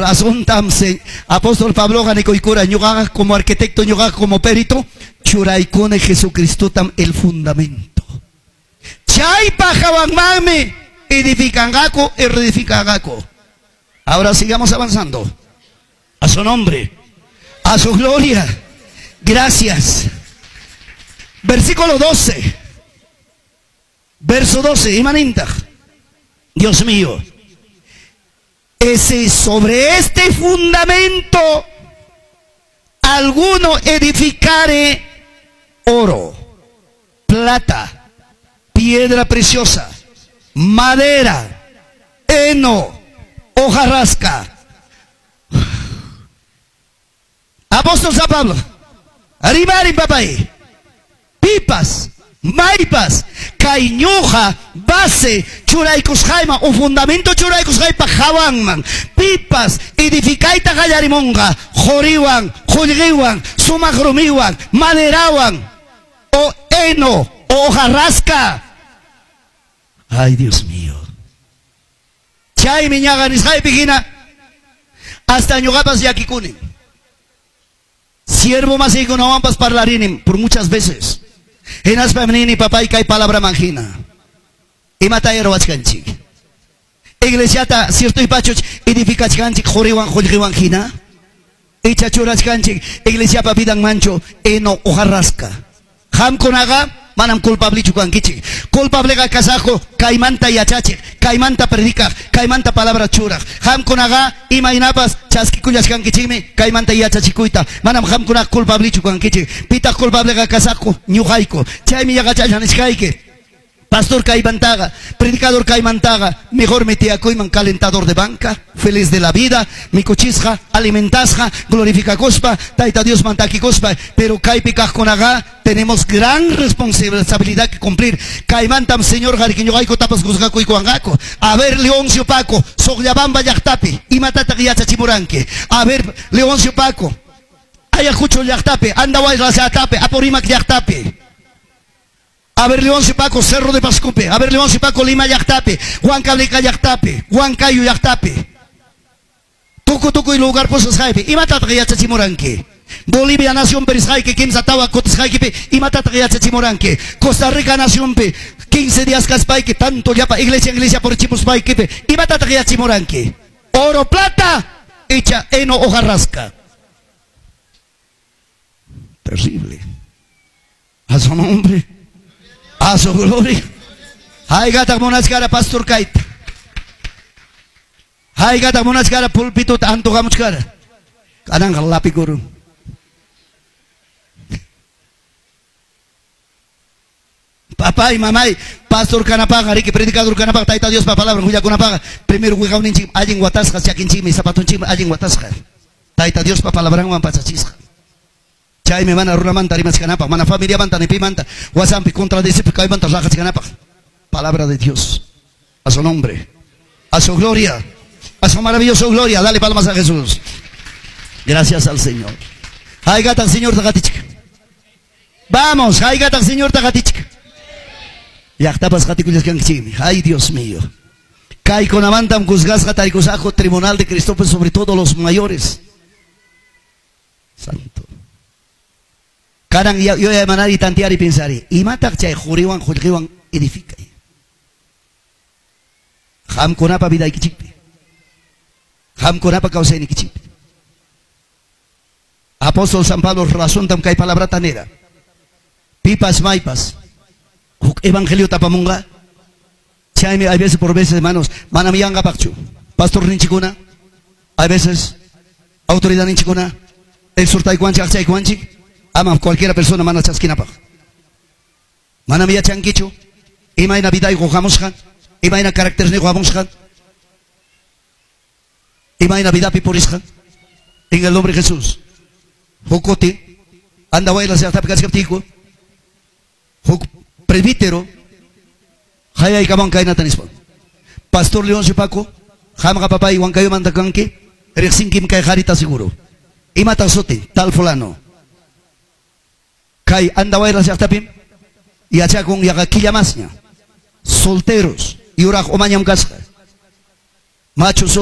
Razontam apóstol Pabloqa nikuykura, ñuqaqa como arquitecto, ñuqaqa como perito, churaykuni Jesucristotam el fundamento. Chaypa hawanmanmi edificanqaku y reedificanqaku. Ahora sigamos avanzando. A su nombre, a su gloria. Gracias. Versículo 12. Verso 12. Imanintaq. Dios mío. Ese sobre este fundamento alguno edificare oro, plata, piedra preciosa, madera, heno, hojarasca. Apóstol San Pablo, rimarin papay, pipas, maypas, kay ñuqa base churaykusqayman o fundamento churaykusqaypa hawanman, pipas edificayta qallarimunqa, quriwan, qullqiwan, sumaq rumiwan, maderawan, o heno, o hojarasca. Ay, Dios mío. Chaymi ñaqa nisqaypi hina hasta ñuqapas llakikuni. Siervo masiykunawanpas parlarini por muchas veces. Hinaspam nini papay kay palabraman hina. Imata ruwachkanchik. Iglesiata cierto y pachuch edificachkanchik quriwan qullqiwan hina. Icha churachkanchik iglesiapa vidanmanchu heno hojarasca. Qamkunaqa manam culpablichu kankichik. Culpableqa kasaqku kaymanta yachachik, kaymanta predicaq, kaymanta palabra churaq. Qamkunaqa imaynapas chaskikullachkankichikmi kaymanta yachachikuyta. Manam qamkunaqa culpablichu kankichik. Pitaq culpableqa kasaqku ñuqayku. Chaymi yaqachalla nishkayki. Pastor kaymantaqa, predicador kaymantaqa, mejor tiyakuyman calentador de banca, feliz de la vida, mikuchisqa, alimentasqa, glorificakuspa, Tayta Dios mantakikuspa, pero kaypi kaqkunaqa tenemos gran responsabilidad que cumplir. Kaymantam Señor qariki ñuqayku tapas juzgakuykuwanqaku. A ver, Leoncio Paco, Soqllabamba llaqtapi, imatataq yachachimuranki. A ver, Leoncio Paco, Ayacucho llaqtapi, Andahuaylas llaqtapi, Apurímac llaqtapi. A ver, Leoncio Paco, Cerro de Pascupe. A ver, Leoncio Paco, Lima llaqtapi, Huancavelica llaqtapi, Huancayo llaqtapi. Tuku tukuy lugar pusasqaypi, imatataq yachachimuranki. Bolivia nación perisqayki, kimsa tawa kutisqaykipi, imatataq yachachimuranki. Costa Rica nacionpi, 15 días kaspayki, tanto llapa iglesia iglesia purichimuspaykipi, imatataq yachachimuranki. Oro, plata, icha heno hojarasca. Terrible. A su nombre. A su gloria. Haykataq munachkara pastor kayta. Haykataq munachkara pulpituta antuqamuchkara. Kananqa lapikurun. Papá y mamá, pastor kanapaq, riki predicador kanapaq, Tayta Diospa palabra hullakunapaq, primero wiqawninchik allin watasqa, chakinchikmi, zapatunchikmi allin watasqa. Tayta Diospa palabranwan pachachisqa. Chaymi mana runamanta rimachkanapaq, mana familiamanta ni pimanta, wasampi contradecirpi kaymanta raqachkanapaq. Palabra de Dios. A su nombre, a su gloria, a su maravillosa gloria. Dale palmas a Jesús. Gracias al Señor. Haykataq Señor taqatichik. Vamos, haykataq Señor taqatichik. Llaqtapas qatikullaskankichikmi. Ay, Dios mío. Kaykunamantam juzgasqa tarikusaqku tribunal de Cristo, sobre todo los mayores. Santo. Kanan yuyaymanari tantear y pensar. Imataq chay quriwan qullqiwan edificay. Qamkunapa vidaykichikpi. Qamkunapa kawsaynikichikpi. Apóstol San Pablo razontam kay palabrata nira. Pipas maypas. Huk evangelio tapamunqa. Chaymi hay veces por veces, hermanos, manam yanqapaqchu. Pastor ninchikuna, hay veces autoridad ninchikuna, exhortaykuanchik, aqchaykuanchik, ama cualquiera persona mana chaskinapaq. Manam yachankichu, imayna vidayqa hamusqa, imayna caracterniqa hamusqa, imayna vidapi purisqa. En el nombre de Jesús. Huk kuti, Andahuaylas llaqtapi kachkaptiyku, huk presbítero, hayaykaman kaynata nispa. Pastor Leoncio Paco, qamqa papay Huancayomanta kanki, riqsinkim kay qarita seguro. Imataq sutin, tal fulano. Kay Andahuaylas llaqtapim yachakun yaqa killa masña. Solteros, yuraq umañam kasqa. Macho